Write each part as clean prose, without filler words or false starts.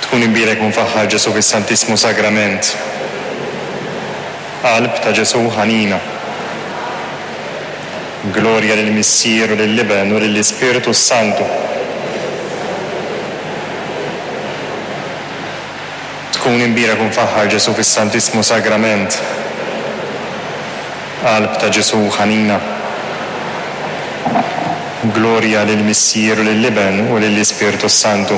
Tkun imbierek u mfaħħar Ġesù fis-Santissmu Sagrament. Qalb ta' Ġesù ħanina. Glorja lill-Missier u lill-Iben u lill-Ispirtu s-Santu. Tkun imbierek u mfaħħar Ġesù fis-Santissmu Sagrament. Qalb ta' Ġesù ħanina. Glorja lill-Missier u lill-Iben u lill-Ispirtu s-Santu.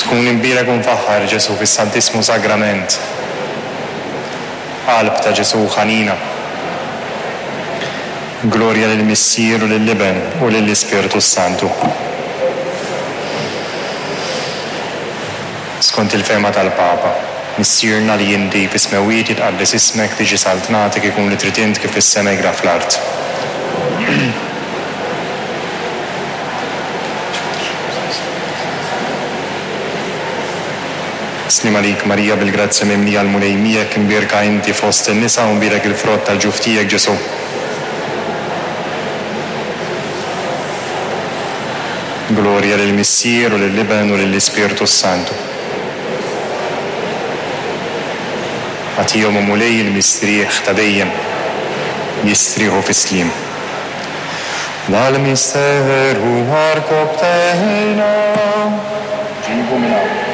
Tkun imbierek u mfaħħar Ġesù fis-Santissmu Sagrament. Qalb ta' Ġesù ħanina. Glorja lill-Missier u lill-Iben u lill-Ispirtu s-Santu. Skont il-fehma tal-Papa, Missierna li inti fis-smewwiet jitqaddes ismek, tiġi saltnatek, ikun li trid int kif fis-sema jgra fl-art. Sliem għalik Marija bil-grazzja mimlija l-Mulej miegħek, imbierka inti fost in-nisa u mbierek il-frott tal-ġuf tiegħek Ġesù. Glorja lill-Missier u lill-Iben u lill-Ispirtu s-Santu. Agħtihom, o Mulej, il-mistrieħ ta' dejjem, jistrieħu fis-sliem. Dal-misteru għarkobbtejna. Ġibu minn hawn.